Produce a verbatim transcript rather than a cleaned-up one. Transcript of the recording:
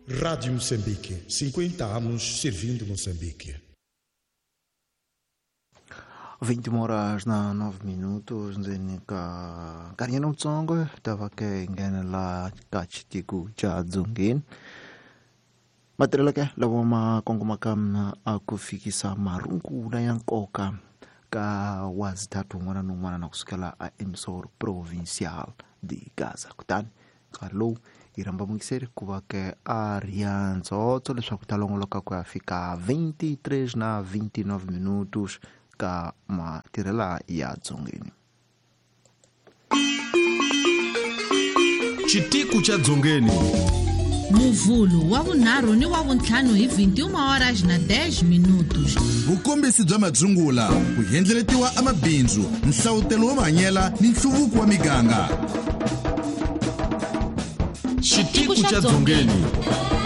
Rádio Moçambique, cinquenta anos servindo Moçambique. vinte horas na nove minutos ndzeni ka nkarhinyana wutsongo ta va ke nghena la ka xitiko xa Dzongeni. Matirhelo ke lawa ma kongomaka a ku fikisa marungula ya nkoka ka wazithathu wun'wana na wun'wana na kusukela a emissor provincial de Gaza. Kutani nkarhi lowu hi rhamba muyingiseri ku va ke a ri ya ndzhotso leswaku ta longoloka ku ya fika vinte e três na vinte e nove minutos ka matirhela ya Dzongeni. Xitiku xa Dzongeni. Muvhulu wa vunharhu ni wa vuntlhanu hi vinte e uma horas na dez minutos. Vukombisi bya madzungula, ku endleletiwa amabindzu, nhlavutelo wo mahanyela ni nhluvuko wa miganga. Xitiku xa Dzongeni.